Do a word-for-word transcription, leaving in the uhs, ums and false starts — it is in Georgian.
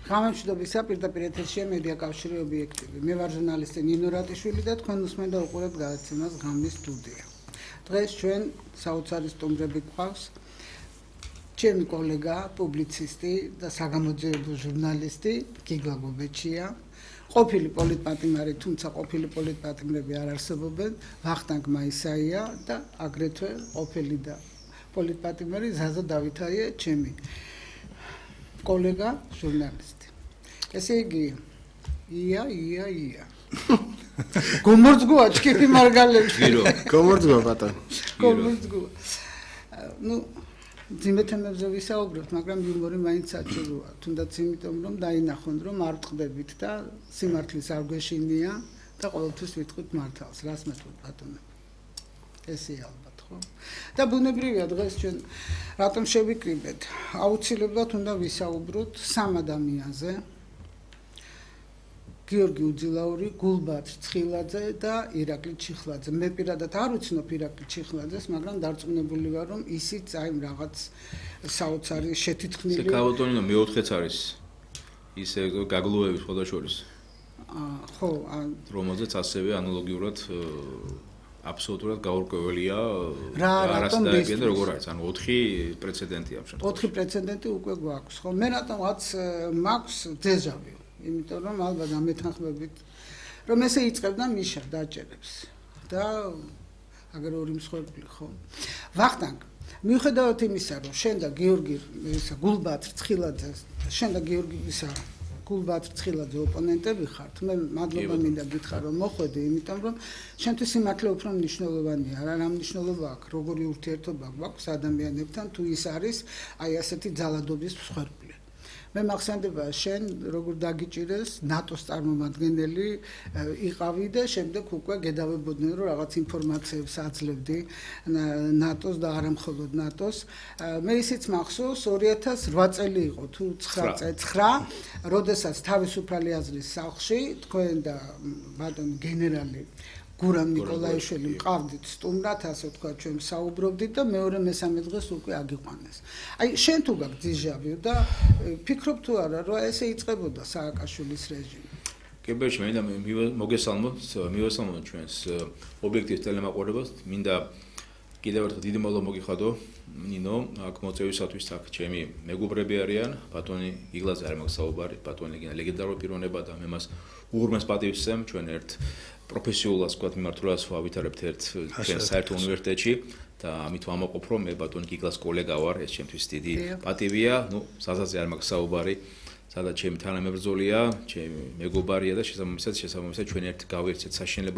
გამომშვიდობისა პირდაპირ ეთერშია მედია კავშირი ობიექტივი. მე ვარ ჟურნალისტი ნინო რატიშვილი და თქვენ უსმენთ და უყურებთ გადაცემას ღამის სტუდია. დღეს ჩვენ საოცარი სტუმრები გვყავს. ჩემი კოლეგა, პუბლიცისტი და საგამოძიებო ჟურნალისტი გიგლა გობეჩია. ყოფილი პოლიტპატიმარი, თუმცა ყოფილი პოლიტპატიმრები არ არსებობენ, ვახტანგ მაისაია და აგრეთვე ყოფილი და პოლიტპატიმარი ზაზა დავითაია, ჩემი კოლეგა ჟურნალისტი. ესე იგი, ია, ია, ია. გომორძგუა ჩქიფი მარგალებში. გომორძგუა ბატონო. გომორძგუა. ნუ ძიმე თემებზე ვისაუბრებთ, მაგრამ იუმორი მაინც საჭიროა. თუნდაც იმიტომ, რომ დაინახონ, რომ არ ვწყდებით და სიმართლის არ გვეშინია და ყოველთვის ვიტყვით მართალს. რას მეთქვით ბატონო? ესეა ალბათ, ხო? და ბუნებრივია დღეს ჩვენ რატომ შევიკრიბეთ? აუცილებლად უნდა ვისაუბროთ სამ ადამიანზე. გიორგი უძილაური, გულბად ცხილაძე და ირაკლი ჩიხლაძე. მე პირადად არ ვიცნობ ირაკლი ჩიხლაძეს, მაგრამ დარწმუნებული ვარ, რომ ისიც აი რაღაც საოცარი შეთითხნილი. საკავატონინო მეოთხეც არის ისე გაგლუევი ხოდაშორის. აა ხო, რომელზეც ასევე ანალოგიურად აბსოლუტურად გაურკვეველია რა რატომ დაიგენ როგორ არის, ანუ ოთხი პრეცედენტი ამ შემთხვევაში. ოთხი პრეცედენტი უკვე გვაქვს, ხო? მე რატომღაც მაქვს დეჟავიუ. იმიტომ რომ ალბათ ამეთანხმებით რომ ესე იწყებდა მიშა დაჭერებს და აგერ ორი მსხვერპლი ხო ვახტანგ მიუხედავად იმისა რომ შენ და გიორგი ისა გულბად ცხილაძე შენ და გიორგი ისა გულბად ცხილაძე ოპონენტები ხართ მე მადლობა მინდა გითხრა რომ მოხვედი იმიტომ რომ შენთვის სიმართლე უფრო მნიშვნელოვანია რა რა მნიშვნელობა აქვს როგორი ურთიერთობა გვაქვს ადამიანებთან თუ ის არის აი ასეთი ძალადობის მსხვერპლი მე მახსენდება შენ როგორ დაგიჭირეს ნატოს წარმომადგენელი იყავი და შემდეგ უკვე გედავებოდნენ რომ რაღაც ინფორმაციებს აძლევდი ნატოს და არა მხოლოდ ნატოს მე ისიც მახსოვს ორი ათას რვა წელი იყო თუ ცხრა როდესაც თავისუფალი აზრის სახლში თქვენ და ბატონი გენერალი გურამ ნიკოლაიშვილი მყავდით სტუმრად, ასე ვთქვათ, ჩვენ საუბრობდით და მეორე მესამე დღეს უკვე აგიყვანეს. აი, შენ თუ გაქვს დიჟავიუ და ფიქრობ თუ არა, რომ ესე იწყებოდა სააკაშვილის რეჟიმი? კებერში მინდა მოგესალმოთ, მივესალმოთ ჩვენს ობიექტივ ტელემაყურებელს, მინდა კიდევ ერთხელ დიდი მადლობა მოგიხადო ნინო, აქ მოწვევისათვის აქ ჩემი მეგობრები არიან, ბატონი იგლაძე არ მაქვს საუბარი, ბატონი ლეგენდარული პიროვნება და მე მას უღრმეს პატივს ვსვამ ჩვენ ერთ პროფესიულას ვთქვათ მიმართულებას ვავითარებთ ერთ ჩვენ საერთო უნივერსიტეტში და ამით ვამაყობ რომ მე ბატონი გიგლას კოლეგა ვარ, ეს ჩემთვის დიდი პატივია, ნუ საზაზე არ მაქვს საუბარი, სადაც ჩემი თანამებრძოლია, ჩემი მეგობარია და შესაბამისად შესაბამისად ჩვენ ერთ გავიერთეთ საშინელება